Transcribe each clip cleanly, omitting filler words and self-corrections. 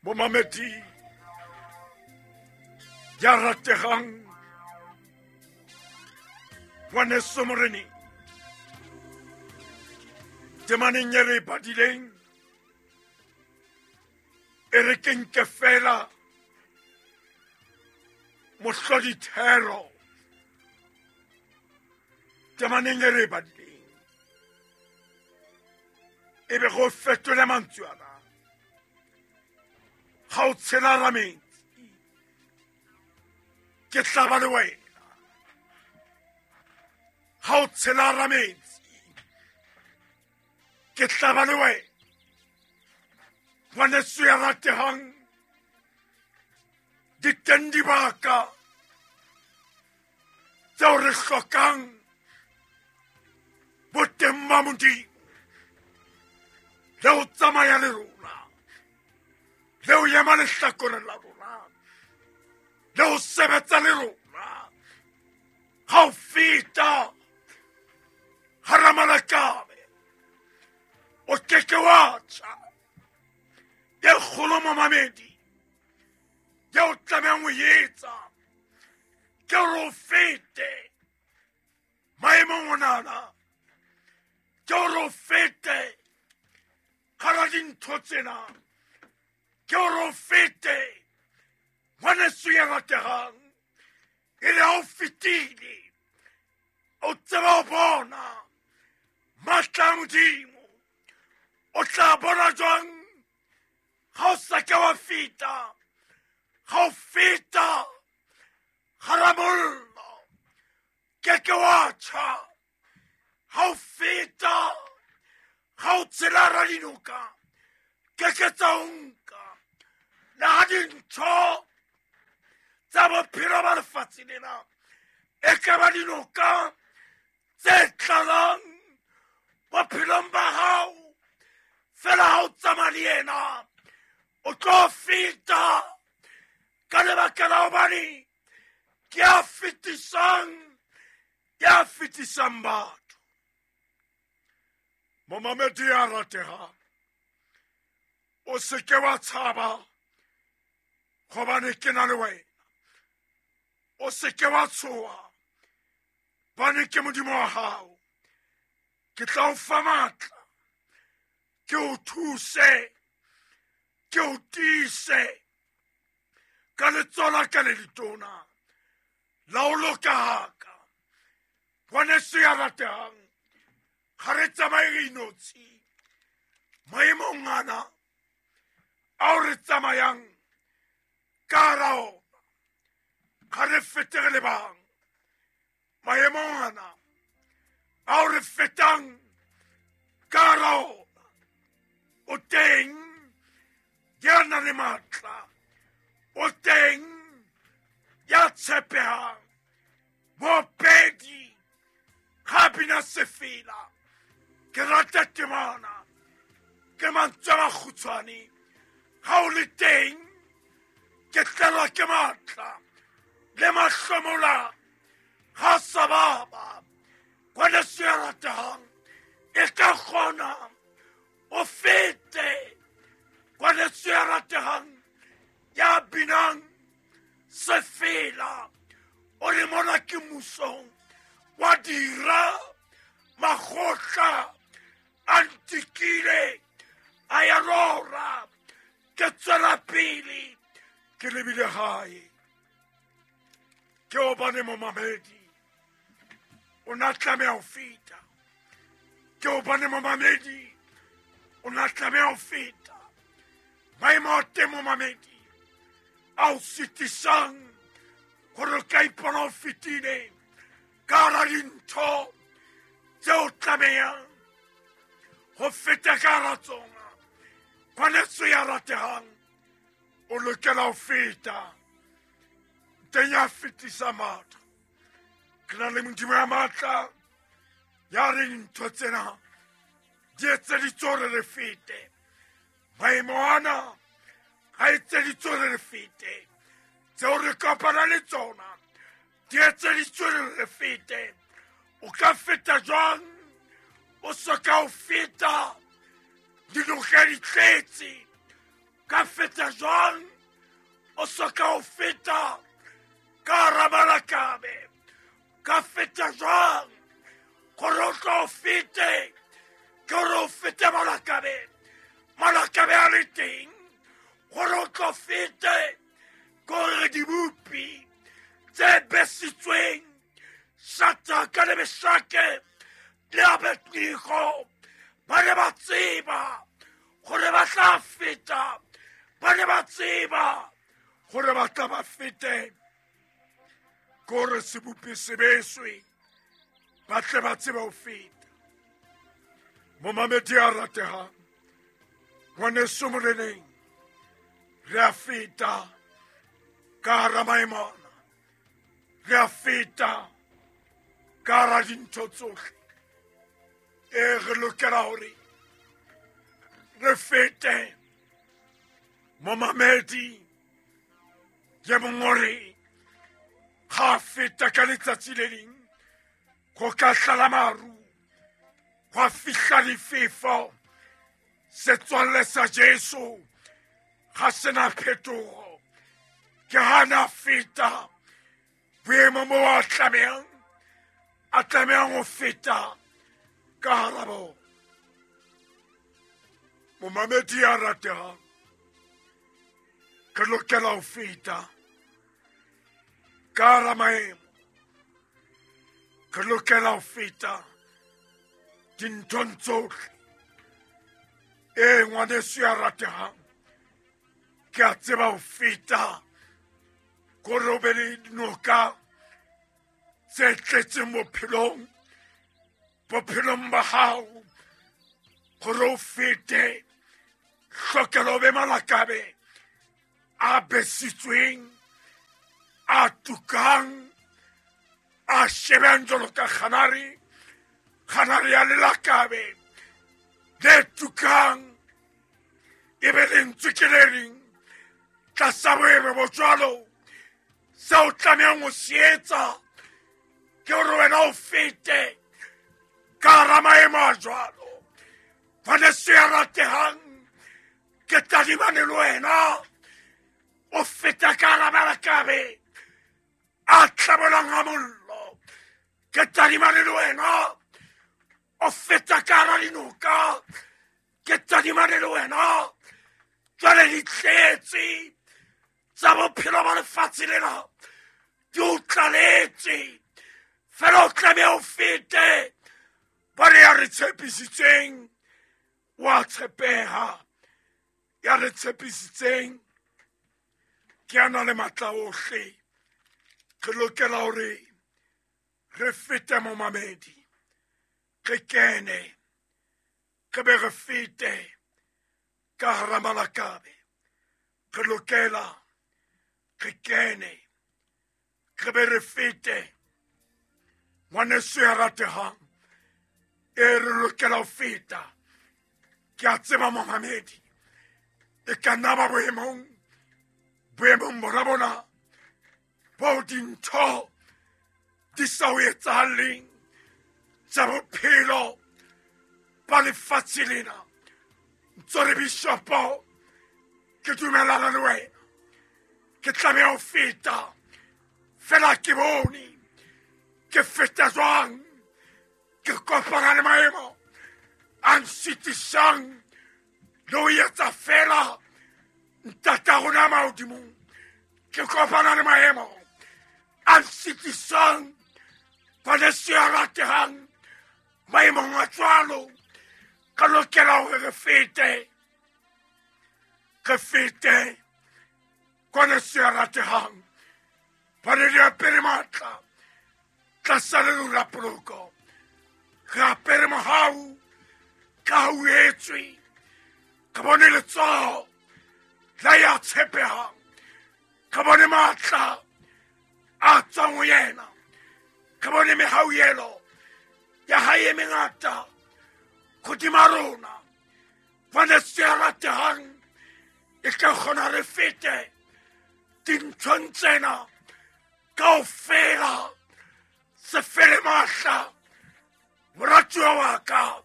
Momamedi ya rategang, ngwaneso moreneng, temaneng e re e badileng, e re ke nke fela mohlodithero temaneng e re e badileng, e be go fetole mantswe ana. Ga o tshela ra metsi, ke tla ba le wena. Ga o tshela ra metsi, ke tla ba le wena. Ngwaneso ya rategang, di teng dibaka tseo re hlokang boteng ba Modimo le ho tsamaya le rona, le ho ema lehlakoreng la rona, le ho sebetsa le rona. Ha o feta hara malakabe, o keke wa tjha. E kgolo momamedi ye o tlamehang ho etsa ke hore o fete maemong onana, ke hore o fete hara dintho tsena, ke hore o fete ngwaneso ya rategang. E le ha o fetile, o tseba ho bona matla a Modimo. O tla bona jwang ga o sa ke wa feta? Ga o feta gara mollo, ke ke wa tjha. Ga o feta, ga o tshela ra dinoka, ke ke tsa o nka. Le ha dintho tsa bophelo ba lefatshe lena e ka ba dinoka tse tlalang bophelong ba hao, fela ha o tsamaya le yena o tlo feta, ka lebaka la hobane ke a fetisang, ya fetisang batho. Momamedi ya rategang, o se ke wa tshaba, gobane ke na le wena. O se ke wa tshoha, bane ke Modimo wa hao. Ke tla o fa matla, ke o thuse, ke o tiise ka letsoho la ka le letona la ho loka haka. Ngwaneso ya ratehang, ga re tsamaye re inotshi maemong ana ao re tsamayang ka hara ona, ga re fete re le bang maemong ana ao re fetang ka hara ona. O teng ya nang le matla, o teng ya tshepehang. Mopedi ga bina sefela, ke rata temana, ke mantswe a makgutshwane. Ga o le teng, ke tlelwa ke matla, le mahlomola ga sa baba. Ngwaneso ya ratehang, e ka kgona o fete. Ngwaneso ya ratehang ya binang sefela, o re mona ke musong wa dira, makgotla a ntikile a ya rora, ke tswela pele ke lebile gae. Ke hobane momamedi o na tlameha ho feta, ke hobane momamedi o na tlameha ho feta maemo a teng momamedi a o sitisang gore o ka ipona o fetile ka hara dintho tse o tlamehang ho feta ka hara tsona. Ngwaneso ya ratehang, o lokela ho feta teng ya fetisa matla. Ke na le Modimo ya matla ya re dintho tsena di etseditswe hore re fete maemo ana, ga etseditswe hore re fete tseo re kopana le tsona, di etseditswe hore re fete. O ka feta jwang o so ka o feta dinoka di tletse? Ka feta jwang o soka o feta ka hara malakabe? Ka feta jwang gore o tlo o fete? Ke gore o fete malakabe, malakabe a le teng. Gore o tlo fete ke gore dibopi tse besitsweng Sataka le Mesake le Abednego ba ne ba tseba gore ba tla feta, ba ne ba tseba gore ba tla ba fete kore sebopi se beswe, ba tle ba tsebe ho feta. Momamedi a ratehang, ngwaneso moreneng, re a feta ka hara maemona, re a feta ka hara dintho tsohle. E re lokela hore re fete. Momamedi ye mongwe o re ga a feta ka letsatsi le leng go ka tlala maru, gwa fihla difefo, setswalle sa Jesu ga sena phetogo. Ke gana feta boemo mo a tlamehang a tlamehang go feta ka hara bona. Momamedi ya rategang, re lokela ho feta ka hara maemo, re lokela ho feta dinthong tsohle. Ee, ngwaneso ya ratehang, ke a tseba ho feta kore o be le dinoka tse tletseng bophelong, bophelong ba hao, gore o fete hlokelo o be malakabe a besitsweng, a tukang, a shebang jalo ka kganare, kganare ya lelakabe le tukang, e be lentswe ke le reng tlasa boemo bo jwalo. Seo o tlamehang ho se etsa ke gore wena o fete ka hara maemo a jwalo. Ngwaneso ya ratehang, ke tadimane le wena o feta ka hara malakabe a tlabolang a mollo. Ke tadimane le wena o feta ka hara dinoka. Ke tadimane le wena jwale di tletse tsa bophelo ba lefatshe lena di o tlaletse, fela o tlameha o fete. Ba re ya re tshepisitseng wa tshepeha, ya re tshepisitseng ke a na le matla ohle. Re lokela hore re fete momamedi, re kene, re be re fete ka hara malakabe. Re lokela re kene, re be re fete. Ngwaneso ya ratehang, e re lokela ho feta. Ke a tseba momamedi, e ka nna ba boemong, boemong bona bona bo dintho di sa o etsahaleng tsa bophelo ba lefatshe lena. Ntso re bishopo, ke dumelana le wena, ke tlameha ho feta, fela ke bone ke feta jwang, ke kopana le maemo a nsitisang le ho etsa fela ntata rona mahodimong. Ke kopana le maemo a nsitisang, ngwaneso ya ratehang, maemong a jwalo ka lokela hore re fete, re fete. Ngwaneso ya ratehang, ba ne di apere matla tlasa leru la poloko, re apere mohau ka ho etswe, ka bone letsoho la ya tshepehang, ka bone matla a tswang ho yena, ka bone mehauhelo ya hae e mengata hodima rona. Ngwaneso ya ratehang, e tla kgona re fete dinthong tsena kaofela. Se fele mahla, moratuwa wa ka,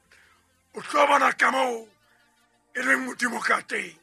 o tlo bona ka moo e leng Modimo ka teng.